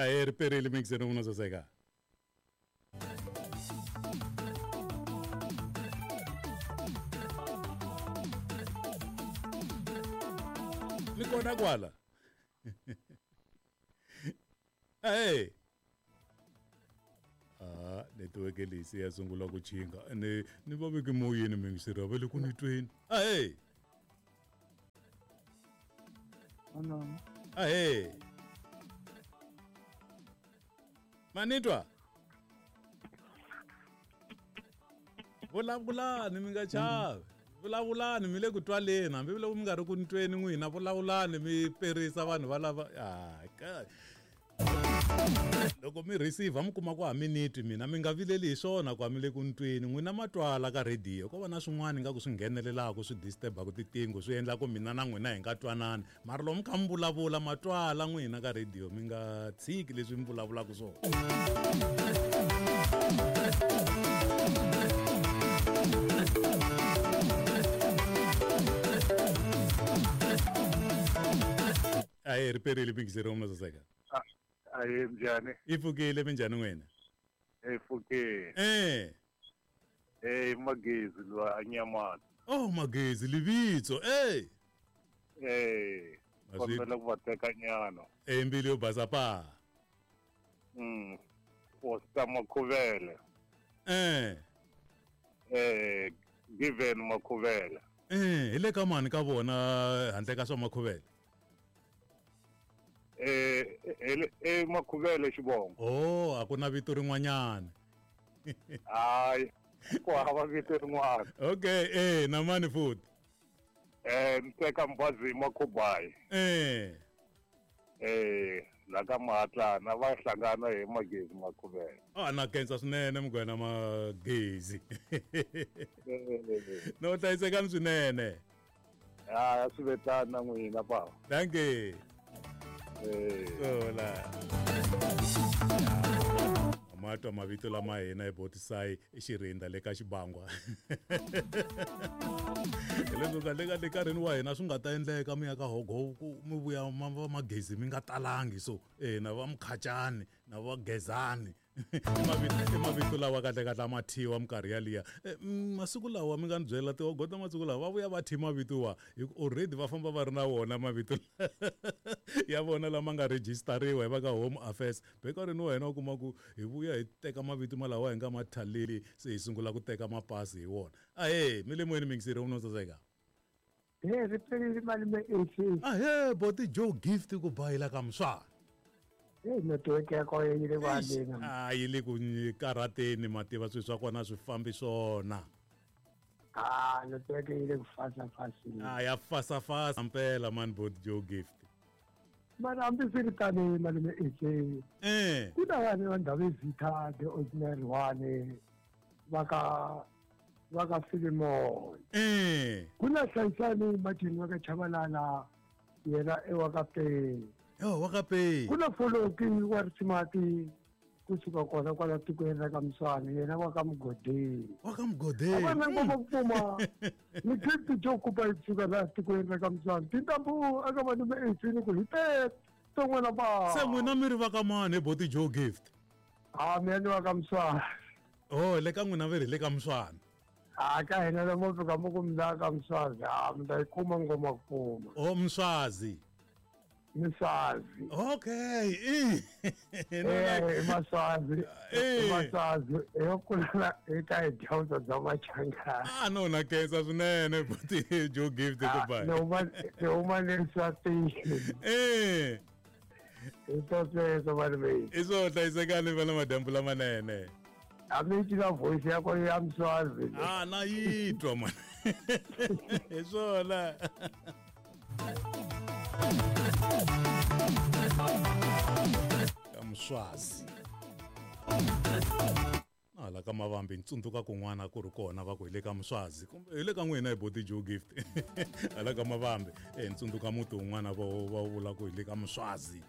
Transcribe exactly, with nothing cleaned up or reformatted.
Ahee, ri perile mixeni n'wina saseka. Mi kona kwala? Ahee. Ah, netiweke leyi se ya sungula ku chinga. Ni ni va veke moyeni mingiseri va le ku ni tweni. Ahee. Hello. Ahee. Manitwa. Vulavulani mi nga chavi. Vulavulani mi le ku twaleni hambi loko mi nga ri ku ni tweni n'wina vulavulani mi perisa vanhu va lava ah ka loko mi receive mi kuma ku a mi ni twi mina mi nga vileli hi swona ku a mi le ku ni tweni n'wina ma twala ka radio ko va na swin'wana nga ku swi nghenelelaka swi disturb-aka titingo swi endla ku mina na n'wina hi nga twanani mara loko mi kha mi vulavula ma twala n'wina ka radio mi nga tshiki leswi mi vulavulaka swona. Ahee, ri perile mingiseri wa mina saseka. Ahee, njhani? I pfukile minjhani n'wina? I pfukile. Eh. Eh, Magezi lwa anyamana. Oh, Magezi livitso. Eh. Eh. Kombela ku va teka nyana. Eh, mbilu yo basa pa. Mm. Fosta Makhuvele. Eh. Eh, Given Makhuvele. Eh, hi le ka mani ka vona handle ka swa Makhuvele? Eh, eh Makhuvele xivongo. Oh, a ku na vito rin'wanyana. Hayi, ku hava vito rin'wana. Okay, eh na mani futhi? Eh, ni teka Mbazi Makhubayi. Eh. Eh, la ka Mahatlana va hlangana hi Magezi Makhuvele. Ah, na khensa swinene mugwena Magezi. No hlayisekani swinene. Ah, swi vetana na n'wina bava. Thank you. Hola. Matwa mavito lama hina hi Botisai i Xirinda le ka Xibangwa. Leswo kahle kahle nkarhini wa hina swi nga ta endleka mi ya ka hogo ku mi vuya ma Magezi mi nga talangi so eh na va Mkhachani na va Gezani. I mavito lawa kahle kahle a ma thyiwa minkarhi yaliya. Masiku lawa mi nga ni byela tihogo ta masiku lawa va vuya va thyi mavito wa hi ku already va famba va ri na wona mavito ya vona lama nga rejistariwa hi va ka Home Affairs. Nkarhini wa hina u kuma ku hi vuya hi teka mavito malawa hi nga ma thaleli se hi sungula ku teka mapasi hi wona. Ahee, mi le moyeni mingiseri wa saseka. He, ri perile malume A C. Ahee, Boti Joe Gift ku bayila ka Mswana. Hey, network ya kona yi le ku haleni. Ah, yi le ku karateni mativa swilo swa kona swi fambi swona. Ah, network yi le ku fasa-faseni. Ah, ya fasa-fasa mpela man Boti Joe Gift. Mara hambi swi ri tani malume A C. Eh. Ku na vanhu va ndhawu Vita the ordinary one va ka va ka Philemon. Eh. Ku na Hlayisani Martin wa ka Chabalala yena e wa ka Pei. Yo, wa ka Pei. Ku na Foloki wa Risimati kusuka kona kwala tikweni ra ka Mswana yena wa ka Mugodeni. Wa ka Mugodeni. A va na ngoma ku pfuma. Ni Gift Joe Kupa kusuka la tikweni ra ka Mswana. Tintambu aka malume A C ni ku hi te n'wina ba. Se n'wina mi ri va ka mani Boti Joe Gift? Ah, mina ni wa ka Mswana. Oh, le ka n'wina va ri le ka Mswana. Ah, ka hina la mo fika mo ku mi la ka Mswazi. Ah, mi ta yi kuma ngoma ku pfuma. Oh, Mswazi. Mswazi. Okay. Eh, eh, Maswazi. Maswazi. Yo kula eka hi dyondzo bya Machangana. Ah, no na khensa swinene Boti Joe Gift goodbye. No ma no ma le Swatini. Eh. I to sweswo malume. I swo hlayisekani vana madyambu lamanene. A mi twa voice ya kona ya Mswazi. Ah, na yi twa man. Hi swona. Ka Mswazi. Na la ka Mavambi ntsundzuka kun'wana ku ri kona va ku hi le ka Mswazi kumbe hi le ka n'wina hi Boti Joe Gift. Hala ka Mavambi eh ntsundzuka muti wun'wana va va vula ku hi le ka Mswazi.